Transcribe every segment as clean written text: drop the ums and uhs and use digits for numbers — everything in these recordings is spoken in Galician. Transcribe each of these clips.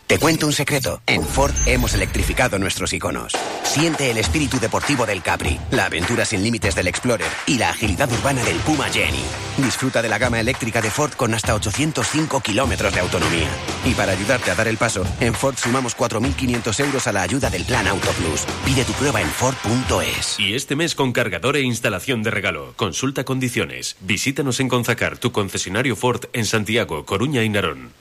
Te cuento un secreto. En Ford hemos electrificado nuestros iconos. Siente el espíritu deportivo del Capri, la aventura sin límites del Explorer y la agilidad urbana del Puma Jenny. Disfruta de la gama eléctrica de Ford con hasta 805 kilómetros de autonomía. Y para ayudarte a dar el paso, en Ford sumamos 4.500 euros a la ayuda del Plan Auto Plus. Pide tu prueba en Ford.es. Y este mes con cargador e instalación de regalo. Consulta condiciones. Visítanos en Conzacar, tu concesionario Ford en Santiago, Coruña y Narón.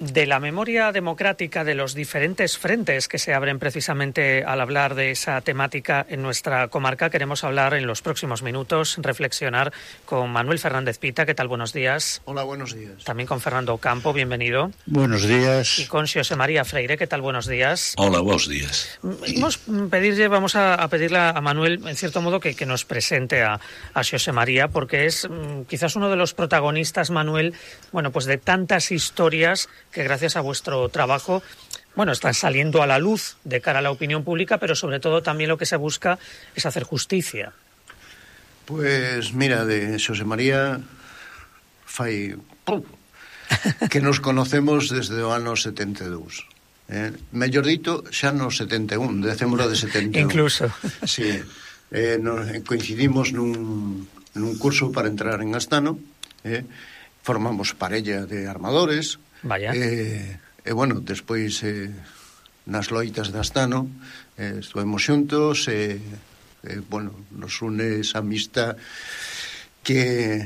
De la memoria democrática de los diferentes frentes que se abren precisamente al hablar de esa temática en nuestra comarca, queremos hablar en los próximos minutos, reflexionar con Manuel Fernández Pita. ¿Qué tal? Buenos días. Hola, buenos días. También con Fernando Ocampo, bienvenido. Buenos días. Y con Xosé María Freire. ¿Qué tal? Buenos días. Hola, buenos días. Vamos a pedirle a Manuel, en cierto modo, que nos presente a Xosé María, porque es quizás uno de los protagonistas, Manuel, bueno, pues de tantas historias que gracias a vuestro trabajo, bueno, están saliendo a la luz de cara a la opinión pública, pero sobre todo también lo que se busca es hacer justicia. Pues mira, de Xosé María fai que nos conocemos desde o ano 72. Mellor dito, xa no 71, decémolo de 71. Incluso. Sí, coincidimos nun curso para entrar en Astano, formamos parella de armadores. Vaya. Bueno, despois nas loitas de Astano estuvemos xuntos bueno, nos une esa amistad que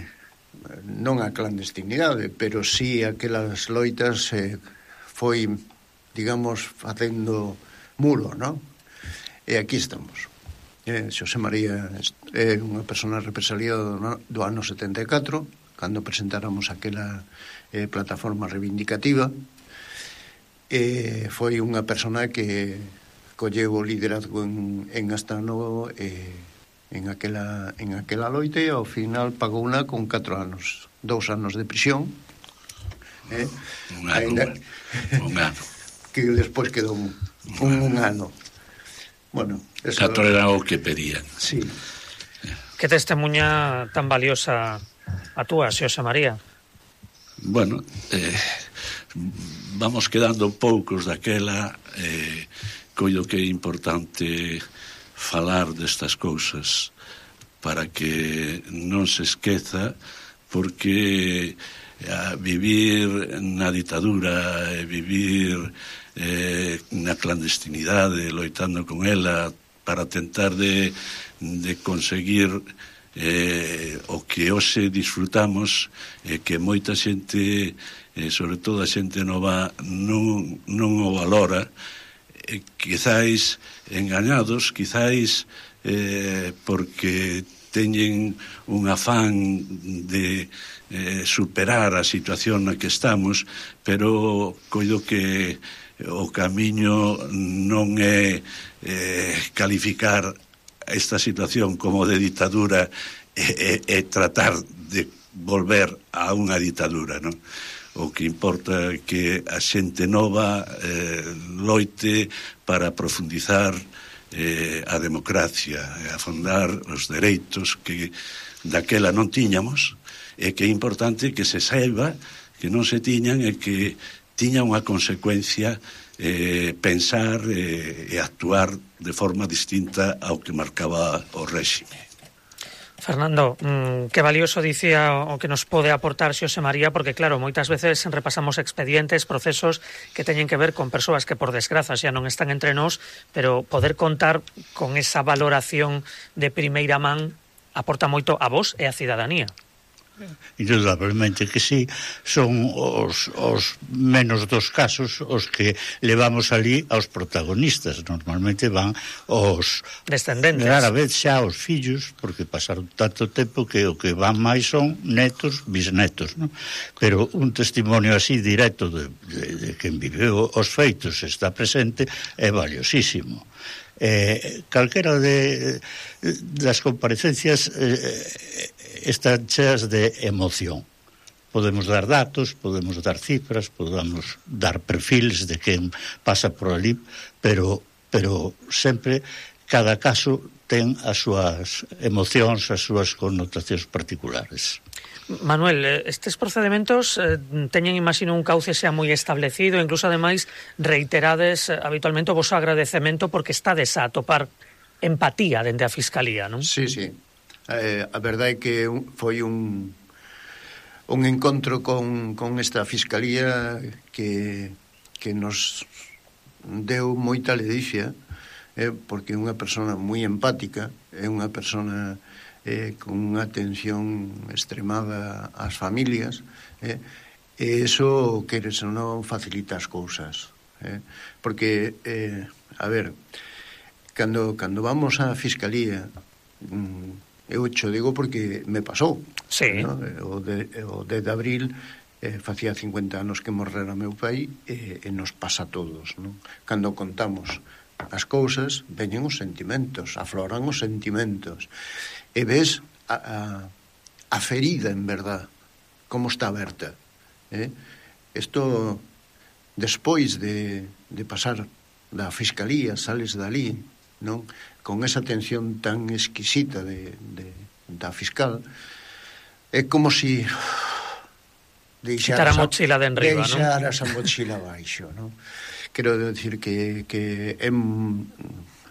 non a clandestinidade, pero sí aquelas loitas foi, digamos, facendo muro, non? E aquí estamos. Xosé María é unha persona represaliada do ano 74, cando presentáramos aquela plataforma reivindicativa, foi unha persona que colleu o liderazgo en Astano en aquela loita e ao final pagou unha con 4 anos, 2 anos de prisión, un ano que despois quedou un ano. Bueno, 4 era o que pedían. Sí. Que testemunha tan valiosa a túa, Xosé María? Bueno, vamos quedando poucos daquela, coido que é importante falar destas cousas para que non se esqueza, porque vivir na ditadura e vivir na clandestinidade, loitando con ela para tentar de conseguir o que hoxe disfrutamos, que moita xente, sobre todo a xente nova, non o valora, quizáis engañados, quizáis porque teñen un afán de superar a situación na que estamos, pero coido que o camiño non é calificar esta situación como de ditadura e tratar de volver a unha ditadura, non? O que importa é que a xente nova loite para profundizar a democracia e afondar os dereitos que daquela non tiñamos, e que é importante que se saiba que non se tiñan e que tiña unha consecuencia pensar e actuar de forma distinta ao que marcaba o réxime. Fernando, que valioso dicía o que nos pode aportar Xosé María, porque claro, moitas veces repasamos expedientes, procesos que teñen que ver con persoas que por desgraza xa non están entre nós, pero poder contar con esa valoración de primeira man aporta moito a vos e a cidadanía. Indudablemente que sí, son os menos dos casos os que levamos ali aos protagonistas. Normalmente van os descendentes, rara vez xa os fillos, porque pasaron tanto tempo que o que van máis son netos, bisnetos, non? Pero un testimonio así directo de quen viveu os feitos está presente é valiosísimo. Calquera das comparecencias están cheas de emoción. Podemos dar datos, podemos dar cifras, podemos dar perfiles de quen pasa por ali, pero sempre cada caso ten as súas emocións, as súas connotacións particulares. Manuel, estes procedementos teñen, imagino, un cauce xa moi establecido, incluso, ademais, reiterades habitualmente o vosso agradecemento porque estades a atopar empatía dende a Fiscalía, non? Sí. A verdade é que foi un encontro con esta Fiscalía que nos deu moita ledicia, porque é unha persona moi empática, é unha persona con unha atención extremada ás familias, e iso, queres ou non, facilita as cousas, porque, a ver, cando vamos á Fiscalía, eu cho digo porque me pasou, sí, ¿no? O 10 de abril facía 50 anos que morrera meu pai, e nos pasa a todos, non? Cando contamos as cousas, veñen os sentimentos, afloran os sentimentos, e ves a ferida, en verdad, como está aberta. Isto, despois de pasar da Fiscalía, sales dali, non? Con esa atención tan exquisita da fiscal, é como si quitar a mochila de enriba, non? Deixaras a mochila baixo, non? Quero decir que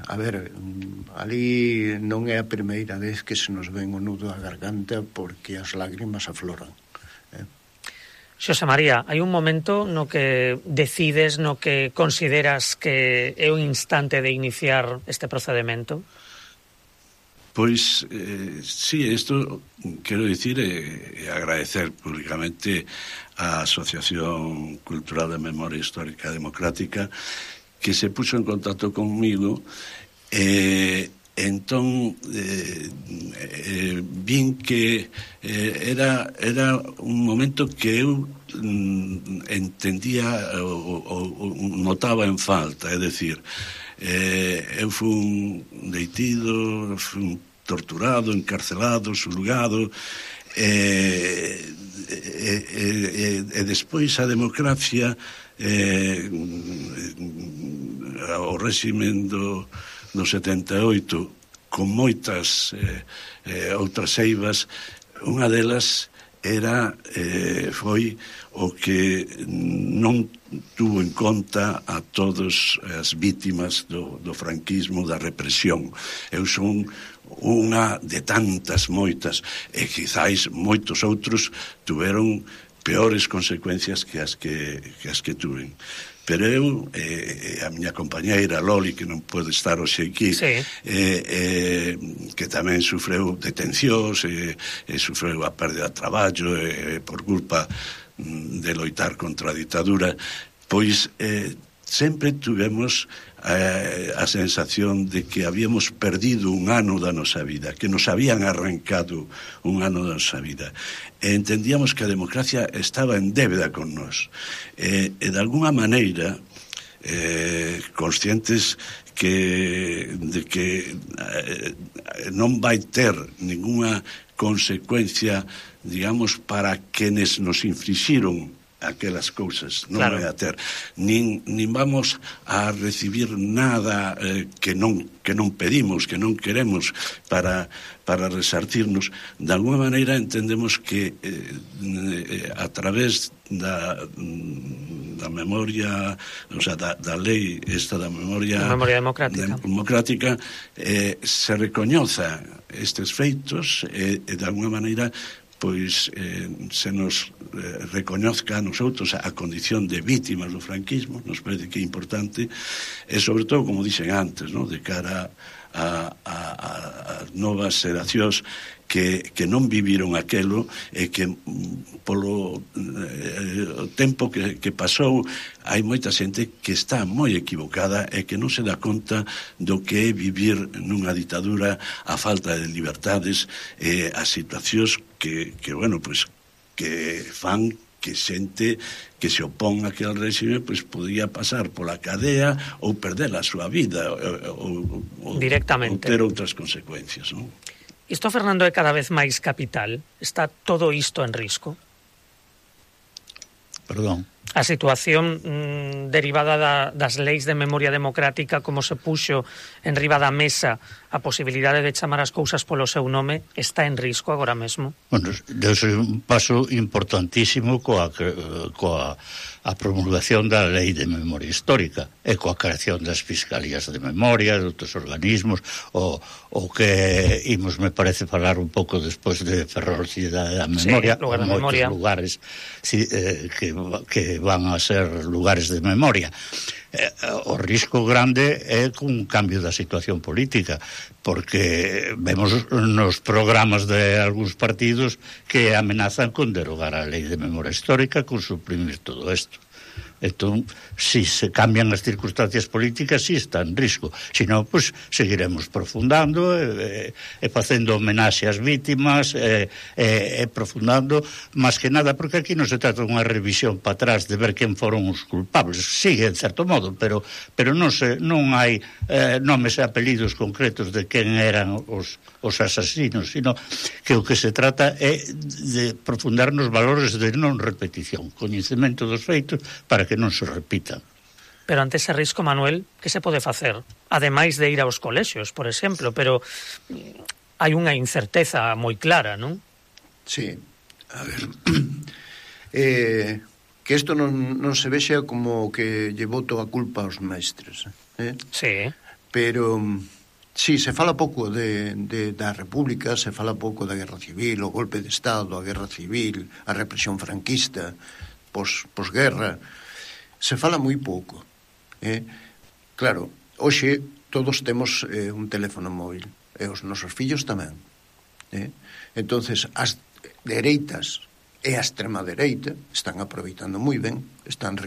a ver, ali non é a primeira vez que se nos ven o nudo á garganta porque as lágrimas afloran. Xosé María, hai un momento no que decides, no que consideras que é un instante de iniciar este procedimento? Pois, sí, isto quero dicir e agradecer públicamente á Asociación Cultural de Memoria Histórica Democrática que se puxo en contacto conmigo entón vin que era un momento que eu entendía ou notaba en falta, é dicir, eu fui detido, fui torturado, encarcelado, xulgado, e despois a democracia, o réximen do 78, con moitas outras eivas, unha delas foi o que non tuvo en conta a todas as vítimas do franquismo, da represión. Eu son unha de tantas moitas, e quizáis moitos outros tuveron peores consecuencias que as que tuven. Pero eu, a miña compañeira Loli, que non pode estar hoxe aquí, sí, que tamén sufreu detencións, sufreu a pérdida de traballo por culpa de loitar contra a ditadura, pois sempre tivemos a sensación de que habíamos perdido un ano da nosa vida, que nos habían arrancado un ano da nosa vida. E entendíamos que a democracia estaba en débeda con nós. E de alguna maneira, conscientes de que non vai ter ninguna consecuencia, digamos, para quenes nos inflixiron aquelas cousas, non vai a ter, nin vamos a recibir nada que non pedimos, que non queremos para resartirnos. De alguna maneira entendemos que a través da memoria, o sea, da lei esta da memoria democrática se recoñoza estes feitos e de alguna maneira pois se nos recoñozca a nosotros a condición de vítimas do franquismo, nos parece que é importante, e sobre todo, como dixen antes, ¿no?, de cara a novas xeracións que non viviron aquelo e que polo tempo que pasou hai moita xente que está moi equivocada e que non se dá conta do que é vivir nunha ditadura, a falta de libertades, as situacións que bueno, pois que fan que xente que se opón a aquel réxime pois podía pasar pola cadea ou perder a súa vida ou directamente, ou ter outras consecuencias, non? Isto, Fernando, é cada vez máis capital? Está todo isto en risco? Perdón. A situación derivada das leis de memoria democrática, como se puxo en riba da mesa a posibilidade de chamar as cousas polo seu nome está en risco agora mesmo? Bueno, deuse un paso importantísimo coa a promulgación da Lei de Memoria Histórica e coa creación das Fiscalías de Memoria, de outros organismos, o que imos, me parece, falar un pouco despois de Ferrolcidade da Memoria, sí, lugar de moitos memoria. Lugares que van a ser lugares de memoria. O risco grande é cun cambio da situación política, porque vemos nos programas de algúns partidos que amenazan con derogar a Lei de Memoria Histórica, con suprimir todo isto. Entón, si se cambian as circunstancias políticas, si está en risco. Si non, pues, seguiremos profundando e facendo homenaxe ás vítimas e profundando, máis que nada, porque aquí non se trata unha revisión para atrás de ver quen foron os culpables. Sigue, en certo modo, pero non hai nomes e apelidos concretos de quen eran os asasinos, sino que o que se trata é de profundar nos valores de non repetición, coñecemento dos feitos para que non se repitan. Pero ante ese risco, Manuel, que se pode facer? Ademais de ir aos colexios, por exemplo, pero hai unha incerteza moi clara, non? Sí, a ver, que isto non se vexa como que lle boto a culpa aos mestres, Sí. Pero sí, se fala pouco da República, se fala pouco da Guerra Civil, o golpe de Estado, a Guerra Civil, a represión franquista, posguerra, se fala moi pouco. Claro, hoxe todos temos un teléfono móvil, e os nosos fillos tamén. Entonces, as dereitas e a extrema dereita están aproveitando moi ben, están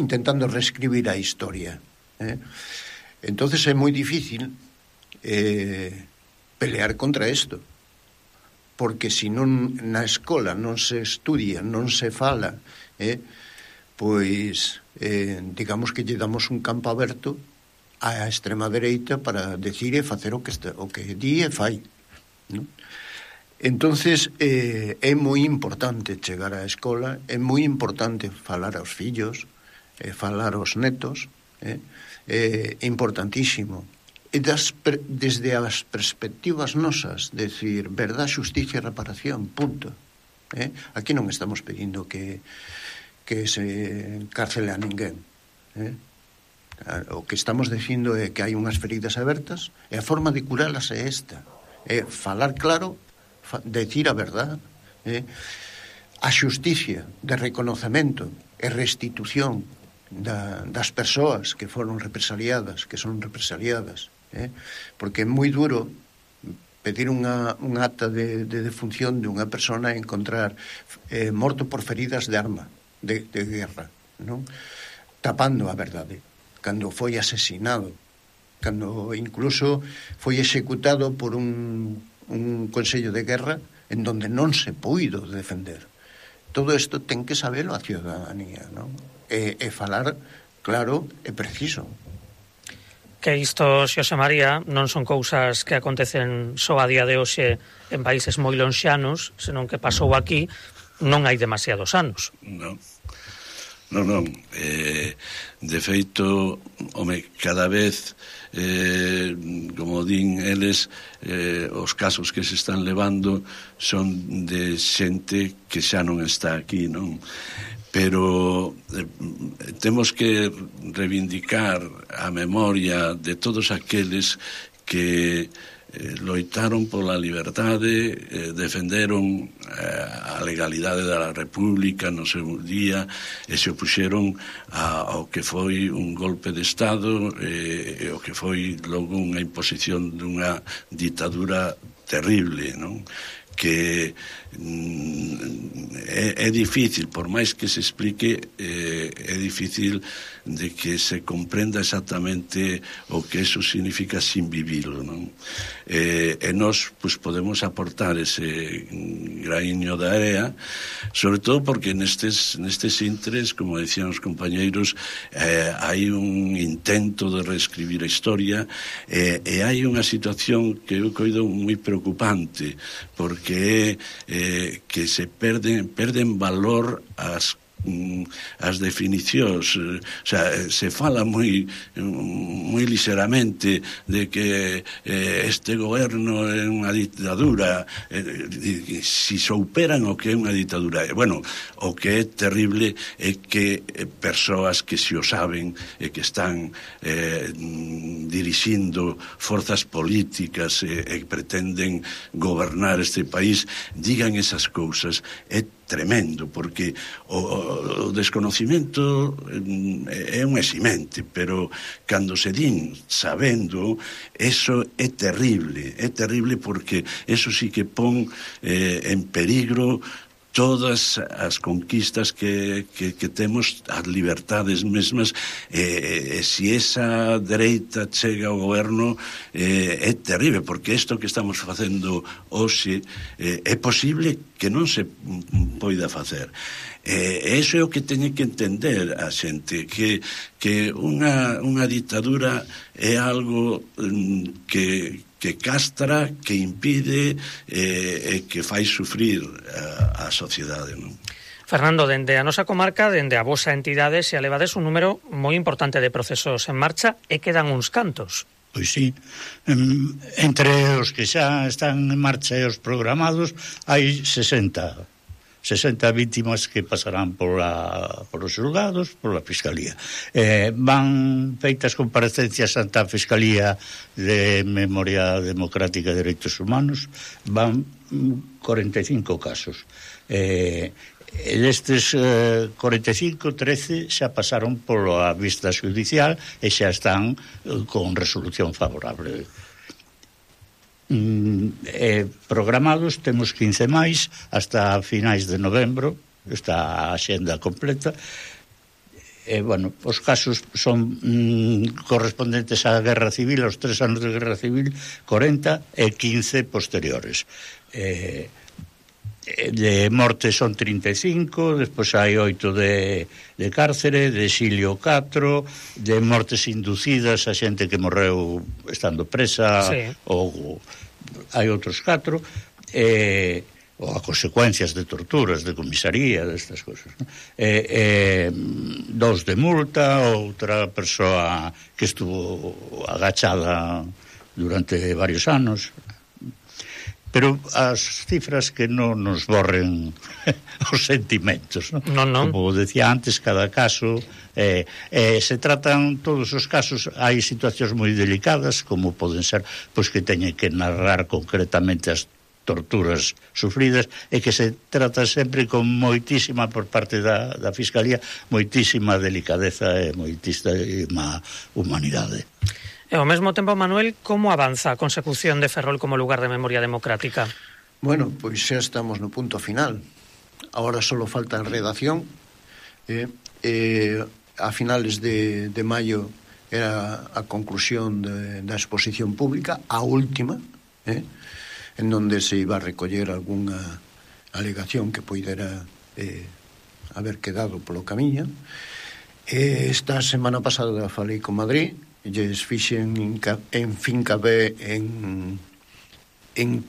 intentando reescribir a historia. Entonces é moi difícil pelear contra isto, porque se non na escola non se estudia, non se fala, pois digamos que lle damos un campo aberto á extrema dereita para decir e facer o que di e fai, non? Entonces é moi importante chegar á escola, é moi importante falar aos fillos, falar aos netos, é importantísimo. E desde as perspectivas nosas, decir, verdade, xusticia e reparación, punto. Aquí non estamos pedindo que se encarcele a ninguén. O que estamos dicindo é que hai unhas feridas abertas e a forma de curalas é esta. É falar claro, decir a verdade, a xusticia de reconocemento e restitución das persoas que foron represaliadas, que son represaliadas, porque é moi duro pedir un acta de defunción de unha persona e encontrar morto por feridas de arma, de guerra, non? Tapando a verdade, cando foi asesinado, cando incluso foi executado por un consello de guerra en donde non se puido defender. Todo isto ten que sabelo a ciudadanía, non? E falar claro e preciso. Que isto, Xosé María, non son cousas que acontecen só a día de hoxe en países moi lonxanos, senón que pasou aquí non hai demasiados anos. Non. De feito, cada vez, como din eles, os casos que se están levando son de xente que xa non está aquí, non? Pero temos que reivindicar a memoria de todos aqueles que loitaron pola liberdade, defenderon a legalidade da República no seu día e se opuxeron ao que foi un golpe de Estado e o que foi logo unha imposición dunha ditadura terrible, non? Que é difícil, por máis que se explique, é difícil de que se comprenda exactamente o que eso significa sin vivilo, non? E nós pues, podemos aportar ese graíño da area, sobre todo porque nestes intres, como decían os compañeiros, hai un intento de reescribir a historia e hai unha situación que eu coido moi preocupante, porque que se perden valor as as definicións, o sea, se fala moi ligeramente de que este goberno é unha ditadura, si souperan o que é unha ditadura. Bueno, o que é terrible é que persoas que se o saben e que están dirixindo forzas políticas e pretenden gobernar este país digan esas cousas. É tremendo, porque o desconocimiento é un eximente, pero cando se din sabendo, eso é terrible porque eso sí que pon en peligro todas as conquistas que temos, as liberdades mesmas, se esa dereita chega ao goberno é terrible, porque isto que estamos facendo hoxe é posible que non se poida facer. Eso é o que teñe que entender a xente, que unha ditadura é algo que castra, que impide e que fai sufrir a sociedade, non? Fernando, dende a nosa comarca, dende a vosa entidade, se alevades un número moi importante de procesos en marcha e quedan uns cantos. Pois sí, entre os que xa están en marcha e os programados hai 60 vítimas que pasarán por os xulgados, por a Fiscalía. Van feitas comparecencias ante a Fiscalía de Memoria Democrática e Dereitos Humanos, van 45 casos. Destes 45, 13 xa pasaron pola vista judicial e xa están con resolución favorable. Programados temos 15 máis hasta finais de novembro, está a xenda completa. Bueno, os casos son correspondentes á Guerra Civil, aos 3 anos de Guerra Civil, 40 e 15 posteriores. De morte son 35, despois hai 8 de cárcere, de exilio 4, de mortes inducidas a xente que morreu estando presa, sí. Ou hai outros 4, ou a consecuencias de torturas, de comisaría, destas cousas, ¿no? 2 de multa, outra persoa que estuvo agachada durante varios anos. Pero as cifras que non nos borren os sentimentos, ¿no? Non. Como decía antes, cada caso se tratan todos os casos. Hai situacións moi delicadas, como poden ser pois que teñen que narrar concretamente as torturas sufridas, e que se trata sempre con moitísima, por parte da Fiscalía, moitísima delicadeza e moitísima humanidade. E ao mesmo tempo, Manuel, como avanza a consecución de Ferrol como lugar de memoria democrática? Bueno, pois xa estamos no punto final. Agora só falta a redacción. A finales de maio era a conclusión da exposición pública, a última, en donde se iba a recoller algunha alegación que poidera haber quedado polo camiño. Esta semana pasada falei con Madrid, lles fixen fincapé en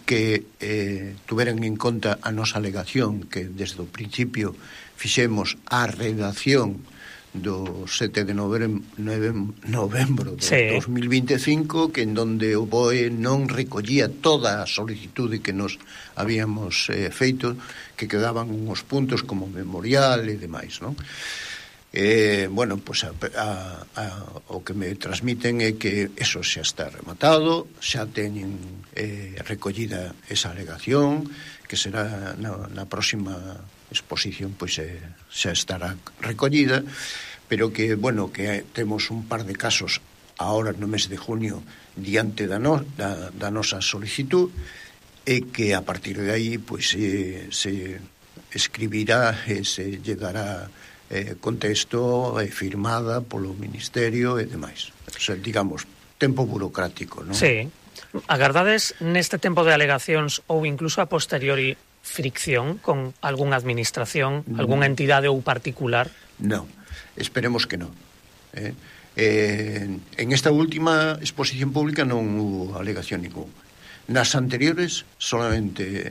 que tuveran en conta a nosa alegación, que desde o principio fixemos a redacción do 7 de novembro de 2025, que en donde o BOE non recollía toda a solicitude que nos habíamos feito, que quedaban uns puntos como memorial e demais, non? Bueno, pues o que me transmiten é que eso xa está rematado, xa teñen recollida esa alegación, que será na próxima exposición, pois xa estará recollida, pero que, bueno, que temos un par de casos ahora no mes de junio diante da nosa solicitud, e que a partir de aí pois se escribirá e se lle dará contexto firmada polo Ministerio e demais. O sea, digamos, tempo burocrático, non? Sí. Agardades neste tempo de alegacións ou incluso a posteriori fricción con algunha administración, algunha entidade ou particular? Non, esperemos que non. En esta última exposición pública non hubo alegación ninguna. Nas anteriores solamente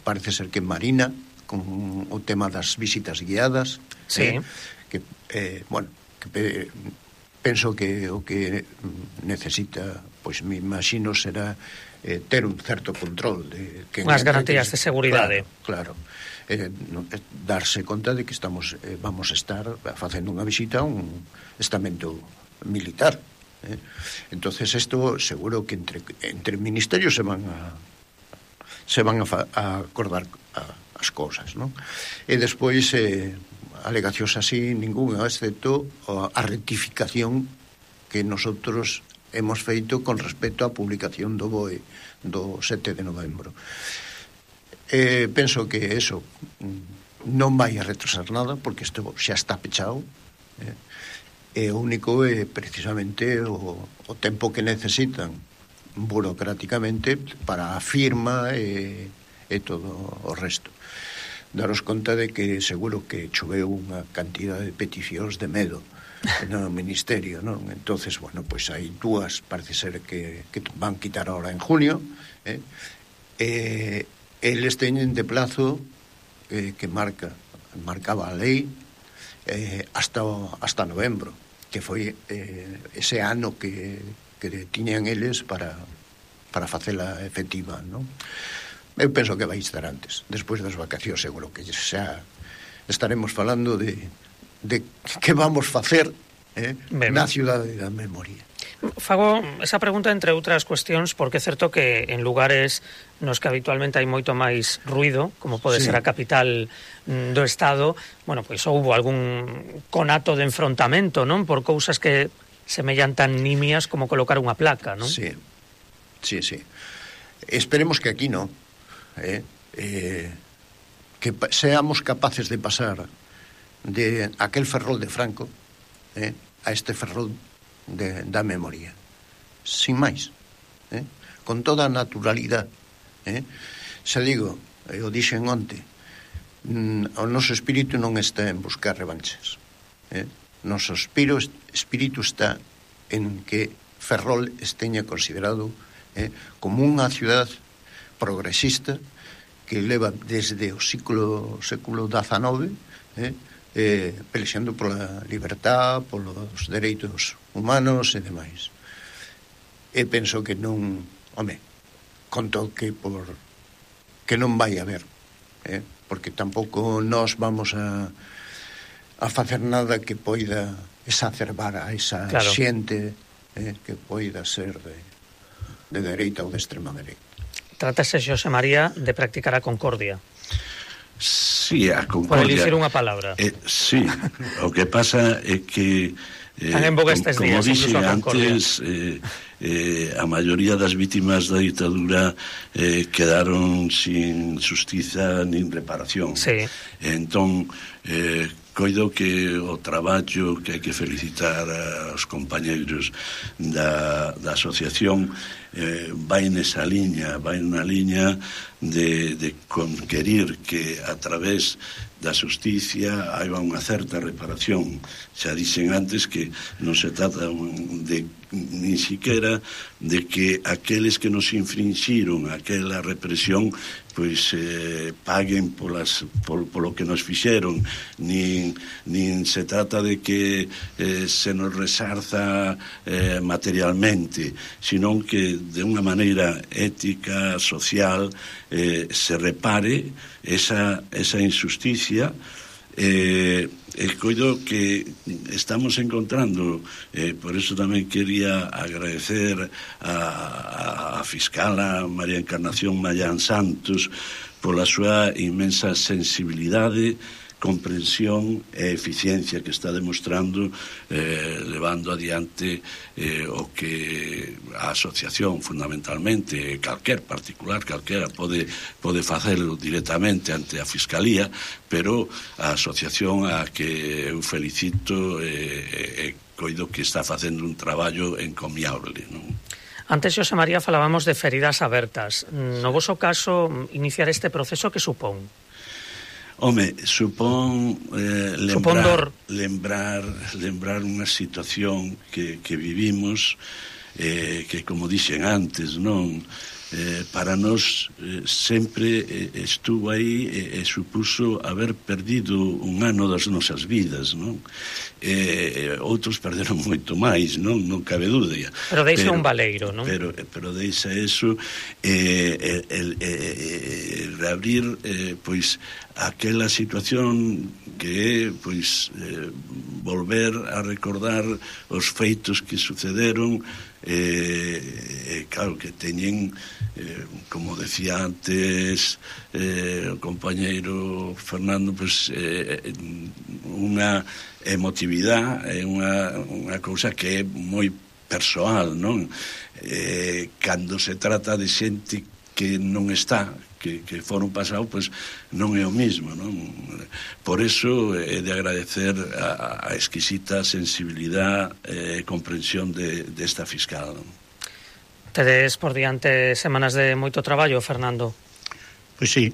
parece ser que Marina con o tema das visitas guiadas, sí. Que, penso que o que necesita, pois me imagino, será ter un certo control de que unhas garantías de seguridade. Claro. Darse conta de que vamos a estar facendo unha visita a un estamento militar. Entonces isto seguro que entre ministerios se van a acordar as cousas, non? E despois alegacións así ninguna, excepto a rectificación que nosotros hemos feito con respecto á publicación do BOE do 7 de novembro. Penso que eso non vai a retrasar nada, porque isto xa está pechado, e o único é precisamente o tempo que necesitan burocráticamente para a firma e todo o resto. Daros conta de que seguro que choveu unha cantidad de peticións de medo no ministerio, non? Entonces, bueno, pois hai dúas, parece ser que van quitar ahora en junio, eles teñen de plazo que marcaba a lei hasta novembro, que foi ese ano que tiñan eles para facela efectiva, non? Eu penso que vai estar antes, despois das vacacións seguro que xa estaremos falando de que vamos facer na cidade da memoria. Fago esa pregunta entre outras cuestións porque é certo que en lugares nos que habitualmente hai moito máis ruido, como pode ser a capital do Estado, bueno, pois houbo algún conato de enfrontamento, non? Por cousas que semellan tan nimias como colocar unha placa, non? Sí. Esperemos que aquí non. Que seamos capaces de pasar de aquel ferrol de Franco a este ferrol da memoria, sin máis, con toda a naturalidade. Xa digo, eu dixen onte, o noso espírito non está en buscar revanches, noso espírito está en que Ferrol esteña considerado como unha ciudad progresista que leva desde o século XIX pelexando pola libertad, polos dereitos humanos e demais. E penso que non, conto que que non vai haber, porque tampouco nós vamos a facer nada que poida exacerbar a esa xente que poida ser de dereita ou de extrema dereita. Trátase, Xosé María, de practicar a concordia. Sí, a concordia. Por elegir unha palabra. Sí, o que pasa é que como dixe antes, a maioría das vítimas da ditadura quedaron sin xustiza nin reparación. Sí. Entón, coido que o traballo que hai que felicitar aos compañeiros da asociación vai nesa liña, vai na liña de conquerir que a través da xusticia hai unha certa reparación. Xa dixen antes que non se trata de ni siquiera de que aqueles que nos infringiron aquela represión pois paguen polo que nos fixeron, nin se trata de que se nos resarza materialmente, senón que de unha maneira ética, social, se repare esa injusticia. Coido que estamos encontrando, por eso tamén quería agradecer a fiscala María Encarnación Mayán Santos pola súa inmensa sensibilidade, comprensión e eficiencia que está demostrando levando adiante o que a asociación fundamentalmente, calquera pode facelo directamente ante a Fiscalía, pero a asociación a que eu felicito e coido que está facendo un traballo encomiable, non? Antes, Xosé María, falábamos de feridas abertas. No voso caso, iniciar este proceso, que supón? Supón lembrar unha situación que vivimos, que, como dixen antes, non para nós sempre estuvo aí e supuso haber perdido un ano das nosas vidas, non? Outros perderon moito máis, non cabe dúbida. Pero deixa un valeiro, non? Pero deixa eso, reabrir pois aquela situación que é pois volver a recordar os feitos que sucederon, claro que teñen, como decía antes o compañeiro Fernando, pois unha emotividade, unha cousa que é moi persoal, non? Cando se trata de xente que non está, que foron pasado, pois non é o mismo, non? Por eso é de agradecer a exquisita sensibilidade e comprensión desta fiscal, non? Tedes por diante semanas de moito traballo, Fernando. Pois sí,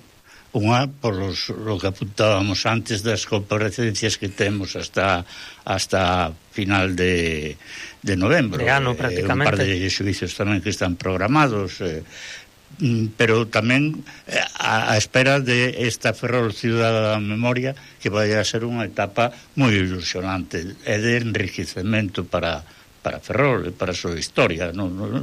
unha por lo que apuntábamos antes das comparecencias que temos hasta final de novembro. De ano, prácticamente. Un par de xuicios tamén que están programados, pero tamén a espera de esta Ferrol Ciudad da Memoria, que vai a ser unha etapa moi ilusionante e de enriquecemento para Ferrol e para a súa historia,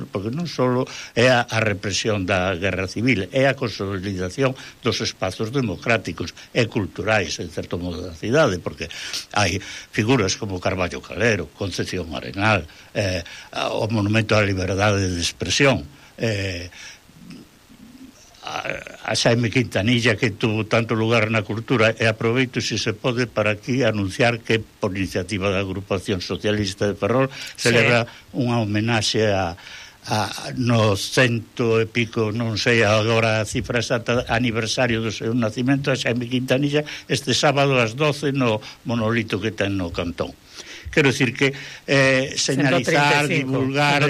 porque non só é a represión da guerra civil, é a consolidación dos espazos democráticos e culturais, en certo modo, da cidade, porque hai figuras como Carballo Calero, Concepción Arenal, o Monumento á Liberdade de Expresión, a Xaime Quintanilla, que tuvo tanto lugar na cultura, e aproveito, se se pode, para aquí anunciar que por iniciativa da Agrupación Socialista de Ferrol celebra unha homenaxe no 100 e pico, non sei agora a cifra exacta, aniversario do seu nacimento, a Xaime Quintanilla, este sábado ás 12 no monolito que ten no Cantón. Quero dicir que señalizar, divulgar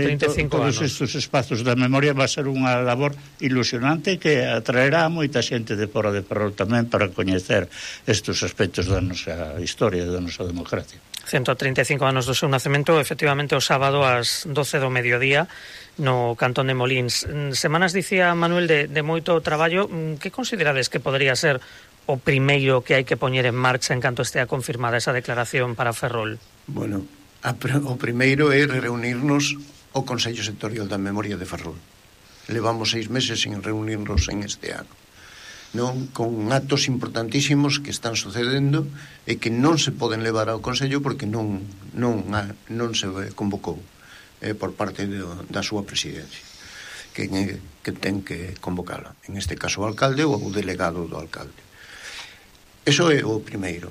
todos estes espazos da memoria va a ser unha labor ilusionante que atraerá a moita xente de fora de Ferrol tamén para coñecer estes aspectos da nosa historia e da nosa democracia. 135 anos do seu nacemento, efectivamente o sábado ás 12 do mediodía no Cantón de Molins. Semanas, dicía Manuel, de moito traballo. Que considerades que podría ser o primeiro que hai que poñer en marcha en canto estea confirmada esa declaración para Ferrol? Bueno, o primeiro é reunirnos o Consello Sectorial da Memoria de Ferrol. Levamos 6 meses sin reunirnos en este ano, non, con actos importantísimos que están sucedendo e que non se poden levar ao Consello porque non se convocou por parte da súa presidencia, que ten que convocala, en este caso o alcalde ou o delegado do alcalde. Eso é o primeiro,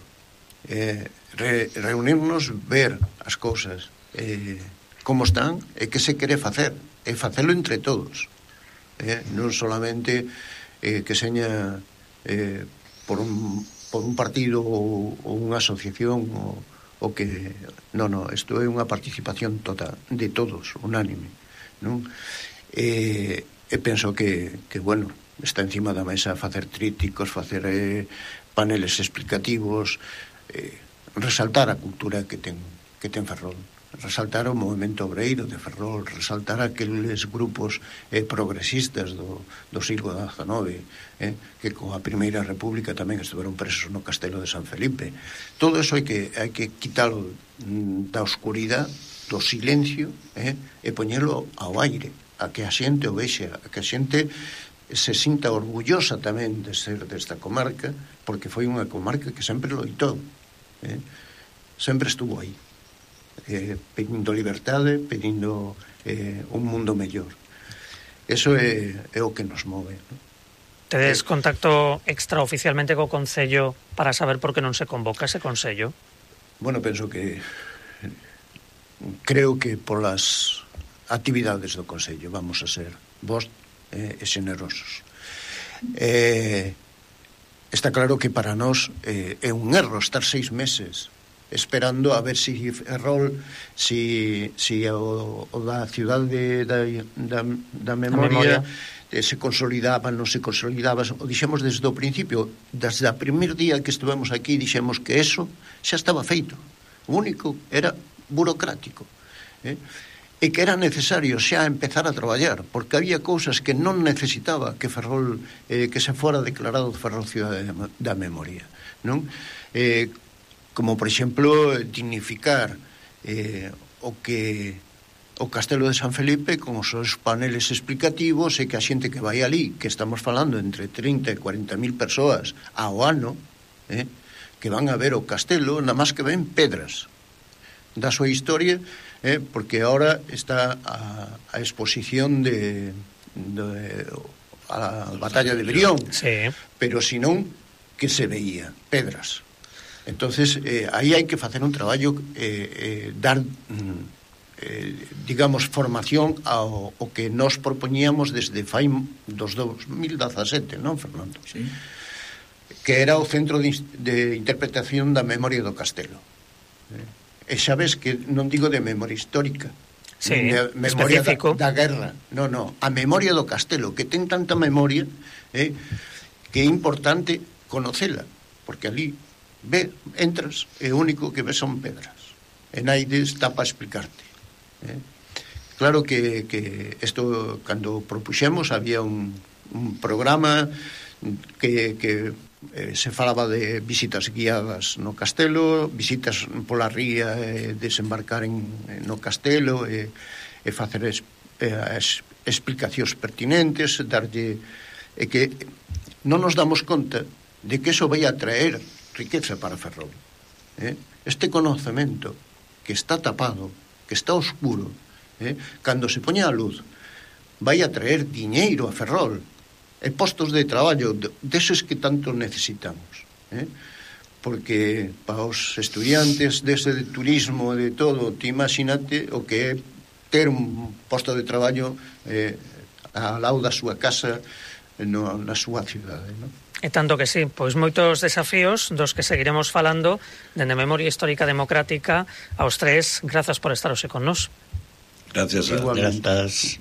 reunirnos, ver as cousas como están e que se quere facer, e facelo entre todos, non solamente que seña por un partido ou unha asociación o que isto é unha participación total de todos, unánime, non? E penso que bueno, está encima da mesa facer trípticos, facer paneles explicativos, resaltar a cultura que ten Ferrol, resaltar o movemento obreiro de Ferrol, resaltar aqueles grupos progresistas do siglo XIX, que coa Primeira República tamén estiveron presos no Castelo de San Felipe. Todo eso hai que quitalo da oscuridade, do silencio, e poñelo ao aire, a que a xente o vexa, a que a xente se sinta orgullosa tamén de ser desta comarca, porque foi unha comarca que sempre loitou, sempre estuvo aí, pedindo liberdade, pedindo un mundo mellor. Eso é o que nos move, non? Tedes contacto extraoficialmente co Concello para saber por que non se convoca ese Consello? Bueno, penso que creo que polas actividades do Consello vamos a ser vos e xenerosos. Está claro que para nós é un erro estar 6 meses esperando a ver si Ferrol, si o da cidade da memoria se consolidaba, non se consolidaba. O dixemos desde o principio, desde o primer día que estivemos aquí, dixemos que eso xa estaba feito. O único era burocrático. E e que era necesario xa empezar a traballar, porque había cousas que non necesitaba que Ferrol, que se fora declarado Ferrol Cidade da Memoria, non? Como, por exemplo, dignificar o Castelo de San Felipe con os seus paneles explicativos, e que a xente que vai ali, que estamos falando entre 30 e 40.000 persoas ao ano, que van a ver o castelo, nada máis que ven pedras da súa historia, porque ahora está a exposición a batalla de Brión, sí. Pero senón que se veía pedras. Entonces aí hai que facer un traballo, dar digamos formación ao que nos propoñíamos desde fai dos 2017, non, Fernando? Sí. Que era o Centro de Interpretación da Memoria do Castelo. E xa ves que non digo de memoria histórica, sí, de memoria específico da guerra, no, a memoria do Castelo, que ten tanta memoria, que é importante conocela, porque ali entras e o único que ves son pedras, e naide está para explicarte. Claro que isto, cando propuxemos, había un programa que se falaba de visitas guiadas no castelo, visitas pola ría, desembarcar no castelo, e facer explicacións pertinentes, darlle, e que non nos damos conta de que eso vai a traer riqueza para Ferrol. Este conocemento que está tapado, que está oscuro, cando se poña a luz, vai a traer diñeiro a Ferrol, e postos de traballo deses que tanto necesitamos, porque para os estudiantes dese de turismo, de todo, te imagínate o que é ter un posto de traballo ao lado da súa casa, na súa cidade, non? E tanto que sí, pois moitos desafíos dos que seguiremos falando dende Memoria Histórica Democrática. Aos tres, grazas por estar hoxe con nós. Gracias a Grazas.